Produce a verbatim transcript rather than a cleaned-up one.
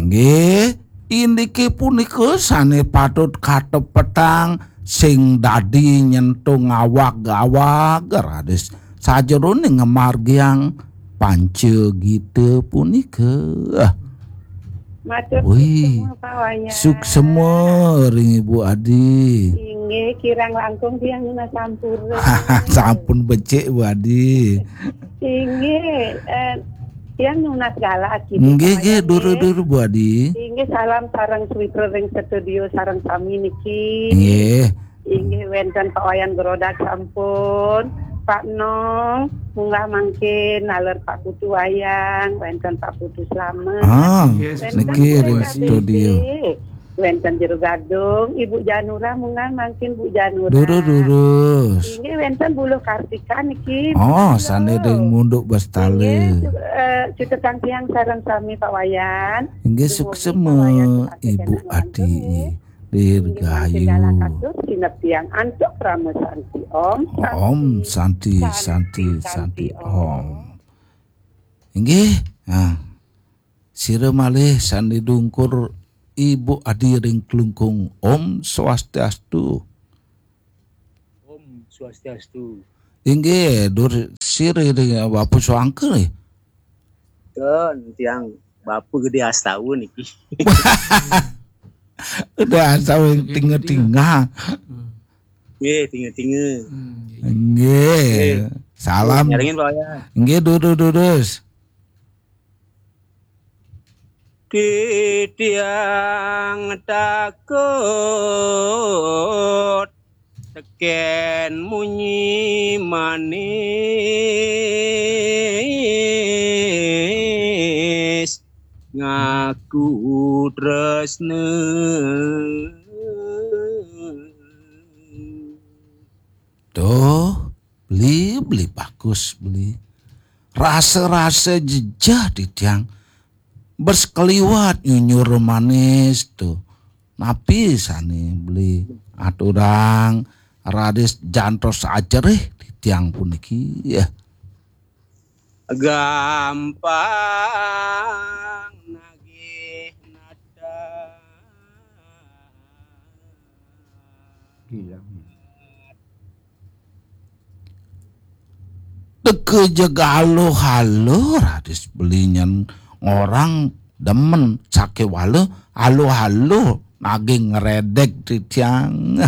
Nggih, indike punika sane patut katepetang sing dadi nyentung awak-awak raris sajerone ngamargiang panca gita punika. Matur Wih, suksema, Pak Wayan. Suksema ring Ibu Adi. Inggih, kirang langkung tiang nunas sampura. Sampun becik, Bu Adi. Inggih, eh, tiang nunas galah gitu, Pak Wayan, nggih, nggih, duru-duru, Bu Adi. Inggih, salam sareng sawitra ring studio sareng sami niki. Nggih. Inggih, wenten Pak Wayan Grodak sampun. Pak Nong, munggah mangkin naler Pak Putu Wayang, wenten Pak Putu Slamet. Ah, wenten niki ring studio. Wenten Jero Gadung, Ibu Janura, munggah mangkin Bu Janura. Duru, durus. Inggih, wenten Buluh Kartika niki. Oh, sane ring Munduk Bestale. Inggih, eh, cutetang tiang sareng sami Pak Wayan. Inggih, suksema, Ibu Adi. Dirgayu. Inggih, mangkin galah katur, sineb tiang antuk Parama Santi. Om Santi, Santi, Santi, Om. Inggih, nah, sira malih sane dungkur Ibu Adi ring Klungkung. Om Swastiastu. Om Swastiastu. Inggih, dur sira ring Bapak Suangka nggih. Ten, tiang Bapak Gede Astawa niki. Udah asal tinga-tinga. Nggih, tinga-tinga. Hmm, nggih. Nggih. Nggih. Salam. Nyarengin, Pak Wayan. Nggih, durus, durus. Titiang takut teken munyi manis ngaku tresna. Tuh, beli, beli bagus, beli. Rasa-rasa jejeh titiang. Bersekeliwat nyunyur manis tuh. Napi sane beli aturang raris jantos ajerih titiang puniki. Ya. Gampang nagih nata. Iya. Teka jeg aluh-aluh, raris beli nyen ngorang demen sakewala aluh-aluh nagih ngredeg titiang.